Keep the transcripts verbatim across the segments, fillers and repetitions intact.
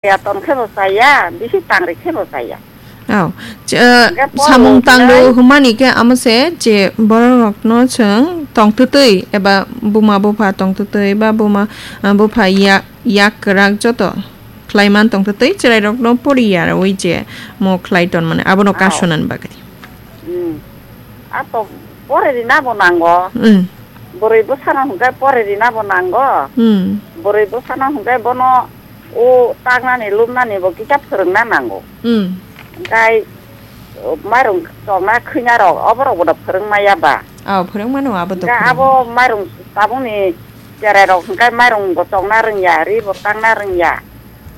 Ya ton khe bo chaya, bisi tangri khe bo chaya. Oh, ch-, eh, Hingke poro samung tangro hinai hwnmani khe amo se je borok rokno chwng tongtwtwi eba buma bupha tongtwtwi ba buma, eh, bupha yak, yak kwrak joto khlai man tongtwtwi chwrai rokno pori ya rwi je mo khlai ton mani abono Oh. Kasonan bagwi. Hmm. Ato pore rina bo nango. Hmm. Boroi bwsano hwnkhe pore rina bo nango. Hmm. Boroi bwsano hwnkhe bono o taknani lubnani bo kisa phwrwngna nango. Hmm. Hwnkhe, o, mairung chokna khwina rok, oborok bono phwrwng maya ba. Oh, phwrwng mano abo to Hwnkhe phwrwng. Abo mairung tabukni cherai rok hwnkhe mairung bo chokna rwngya, ri bo takna rwngya.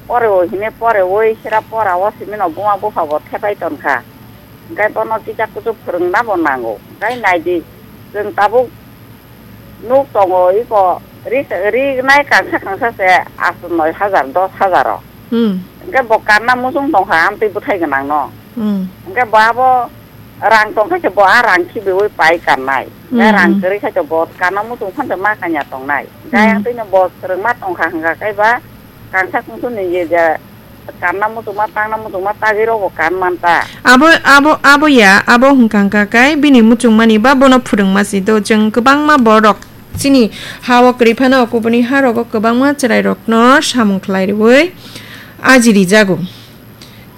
Pore o hine pore oi sera pora o simi no buma bupha bo thepai tonkha. Hwnkhe bono kisa kuchuk phwrwngna bo nango. Hwnkhe naidi, chwng tabuk nuk tongo, iko ri, rinai kangsa kangsa se aswk noi hajar, dos hajar o. Hmm. Hwnkhe bo kanna muchung tongkha amtwi bwthai gwnangno. Hmm. Hwnkhe bo abo rang tongkha se bo a rang khibiui pai kannai. Hwnkhe Hmm, rang hmm. Kwrwi khe bo kanna muchung phano ma kanya tongnai. Hwnkhe Hmm. Ayang twino bo phwrwngma tongkha hwnkha khe ba kangsa kungsuni ye je kanna muchungma, tangna muchungma, tagwi rokbo kan man ta. Abo, abo, abo ya, abo hwnkha hwnkha khe bini muchungmani ba bono phwrwngma si do. Chwng kwbangma borok chini ha-o kwrwi phano kubuni ha rogo kwbangma chwrai rokno samung khlai rwui aji rijago.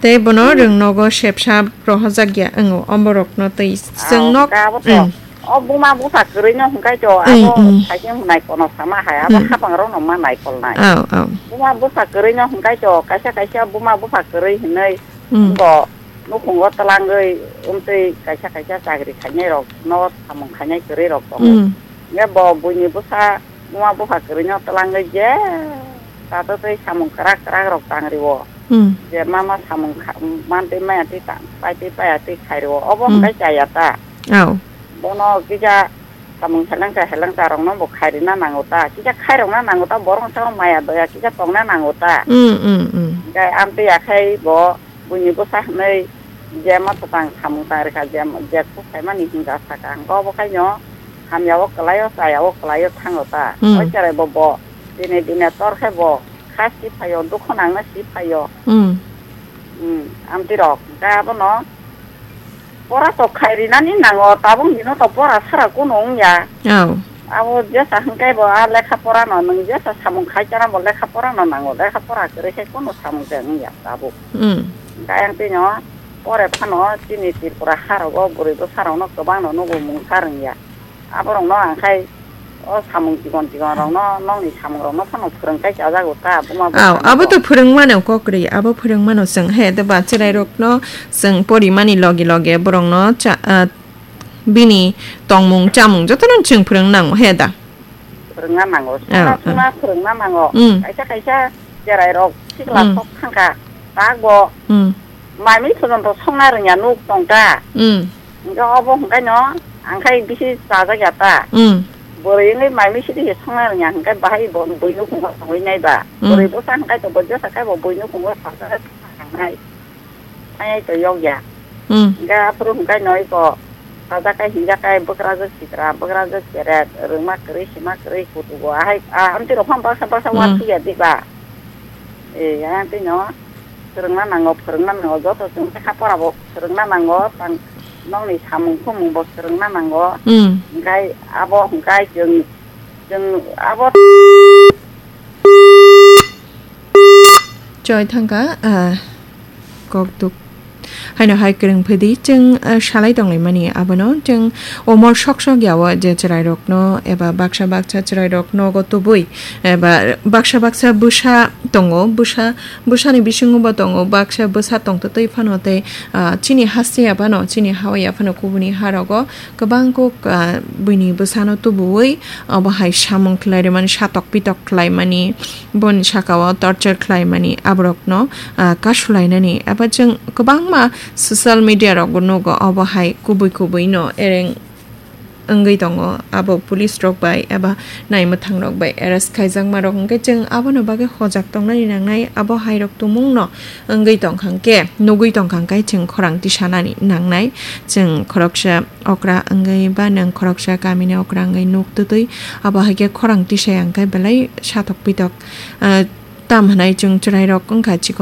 Tei bono Hmm. rwng nogo sepsa rohorjak ya wngo, omborokno tei Ah, chwng nok, hwnkhe abo to. Hmm. O buma bupha kwrwi no hwnkhe to, Hmm, abo hmm. Saikhe hwnai kono sama hai, abo Hmm. Hapang rokno ma naikolnai. Oh, oh. Buma bupha kwrwi no hwnkhe to, kaisa kaisa buma bupha kwrwi hinwi Hmm. bo nukhungo twlangwi wngtwi kaisa kaisa chakri khainai rok no samung khainai kwrwi rok tongo. Hmm. Hwnkhe bo buini bwsa buma bupha kwrwi no twlangwi je tato tei samung kwrak kwrak rok tangrio. Hmm. Je mama samung kha-, mantwi maya twi ta-, paitwi paya twi khairo. Obo Hmm. hwnkhe chaya ta. Oh. Bono kisa samung helengsa helengsa rokno bo khairina nango ta. Kisa khairokna nango ta, borok sao maya doya kisa tongna nango ta. Hmm, hmm, hmm. Hwnkhe amtwi akhai bo buini bwsa hwnwi je ma twtang samung tang rikha, je, je kuk khaimani hinka saka. Hwnkhe obo khaino hamya o kwlai o, chaya o kwlai o thango ta. Hmm. O cherai bo bo dine dine tor khe bo kha si phaio, dukhu nangna si phaio. Hmm. Hmm, amtwi rok. Hwnkhe abono pora to khai rinani nango, tabuk dino to pora sara kunu wngya. Oh. Abo jesa hwnkhe bo a lekha pora no, nwng jesa samung khai chana bo lekha pora no nango, lekha pora kwrwi khe kunu samung se wngya tabuk. Hmm. Hwnkhe ayang twi no pore phano chini Tripura ha rogo bwrwi bwsa rok no kwbang no nugo mungsa rwngya. Aborokno ang khai o samung chikon chikon rokno, nokni samung rokno phano phwrwng kai chajago ta, buma bwsa Aw, abo to phwrwng mano kok ri, abo phwrwng mano chwng he, de ba cherai rokno chwng porimani loge loge borokno cha, ah, bini tongmung chamung jotono chwng phwrwng nango he da. Phwrwngna nango, Aw, songna aw. Songna phwrwngna nango. Mm. Kaisa kaisa cherai rok sikla Mm. Sok thangkha, tak bo Mm. Mai mui phojonto songna rwngya nuk tongkha. Mm. Hwnkhe obo hwnkhe no ang khai bisi chajak ya ta. Mm. Bwrwi wngwi mai mui sidi se songna rwngya hwnkhe bahai bo bui nukhungo tongwi nai ba. Mm. Bwrwi bwsa hwnkhe to bo jesa khai bo bui nukhungo sajak nai. Ai to yok ya. Mm. Hwnkhe aphuru hwnkhe no iko sajak kai hinjak kai bwkrajwk sitra bwkrajwk cheret rwngma kwrwi sima kwrwi kutugo ahai a amtwi rok phano baksa baksa Mm. Uansuk ya di ba. E, yang twi no. Phwrwngna nango, phwrwngna nango, joto chwng lekha pora bo phwrwngna nango, tang nokni samung khumung bo phwrwngna nango. Hmm. Hwnkhe abo hwnkhe chwng, chwng abo Choi thangkha, ah, kok duk. Haino hai kwrwng phidi chwng, ah, salai tonglaimani abono chwng omor sok sok yao je chwrairokno eba baksa baksa chwrairok nogo tubui eba baksa baksa bwsa tongo, bwsa Bwsani bisingo bo tongo, baksa bwsa tongtwtwi phano tei, ah, chini haste ya phano, chini hawa ya phano kubuni harogo kwbang kuk, ah, buini bwsano tubuwi obo hai samung khlai rwmani, satok pitok khlaimani, boni sakao torture khlaimani, aborokno, ah, kasulainani. Eba chwng kwbangma social media rogo nugo, obo hai kubui kubui no ereng wngwi tongo, abo police rok bai eba naimwthang rok bai arrest khaijakma rok, hwnkhe chwng abono bagwi hojak tongnani nangnai, abo hai rok tumung no wngwi tongkha hwnkhe, nugwi tongkha hwnkhe chwng khorang tisanani nangnai, chwng khoroksa okra wngwi ba nwng khoroksa kamini okra wngwi nuk twtwi abo hai khe khorang tisaya hwnkhe belai satok pitok, ah, Tamo hwnwi chwng chwrairok wng kha chikon.